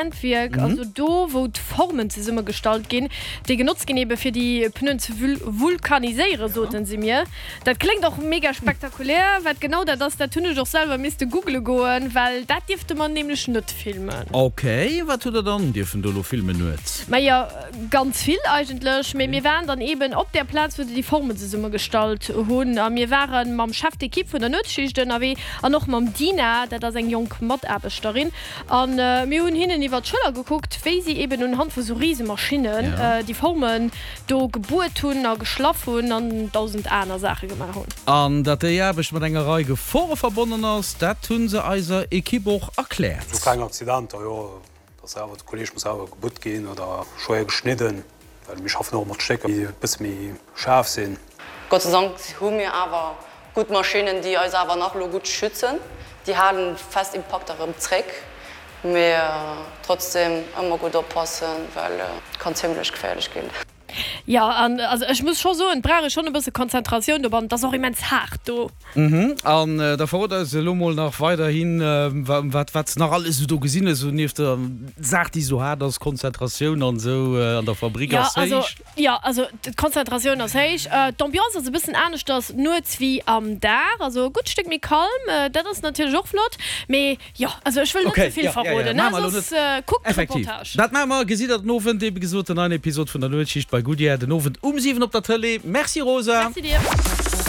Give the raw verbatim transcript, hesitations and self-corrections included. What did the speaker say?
Handwierk, also do wou d'Formen zesummegestallt ginn, déi genotzt ginn ebe fir déi Pneuen ze vulkaniséieren, soten se mir. Dat kléngt och mega spektakulär. Wat genau dat ass, dat hunn ech och selwer misste googele goen, well dat dierfte mer nämlech net filmen. Ok, wat hutt der dann dierfen do elo filmen nuets? Majo, ganz vill eigentlech, mee mir waren dann eben op där Plaz wou se déi Formen zesummegestallt hunn a mir ware mam Chef d'équipe vun der Nuetsschicht ënnerwee an och mam Dina, dat ass eng jonk Mataarbechterin. An mir hunn hinnen iwwer d'Schëller gekuckt, wéi si eben unhand vu sou Risemaschinnen déi Formen do gebuert hunn a geschlaff hunn an dausend aner Saache gemaach hunn. An datt déi Aarbecht mat enger Rei Gefore verbonnen ass, dat hu se eiser Ekipp och erkläert. Sou kleng Accidenter, jo, dass awer de Kolleg muss awer gebutt ginn oder schwéier geschnidden, well mir schaffen och mat Stécker, déi e bësse méi schaarf sinn. Gott sei Dank hu mir awer gutt Maschinnen, déi eis awer nach elo gutt schützen. Déi halen fest Impakter erëm zréck, mee trotzdem ëmmer gutt oppassen, well et kann zimlech geféierlech ginn. Jo, an also ech muss scho soen, et brauch ee schonn e bësse Konzentratioun dobannen, et ass och immens haart do. Mhm, an da verrot eis elo mol nach weiderhin, wat wat s nach alles esou do gesinn hues, esou nieft der Saach, déi esou haart ass, Konzentratioun an esou an der Fabrik ass héich. Jo, also d'Konzentratioun ass héich. D'Ambiance ass e bëssen aneschters nuets wéi am Dag, also e gutt Stéck méi calm. Dat ass natierlech och flott. Mee jo, also ech wëll net ze vill verroden, ne, soss kuckt d'Reportage. Dat maache mer. Gesitt der den Owend, ebe gesot, den neien Episod vun der Nuetsschicht bei Goodyear den Owend um siwen op der Tëlee. Merci Rosa. Merci dir.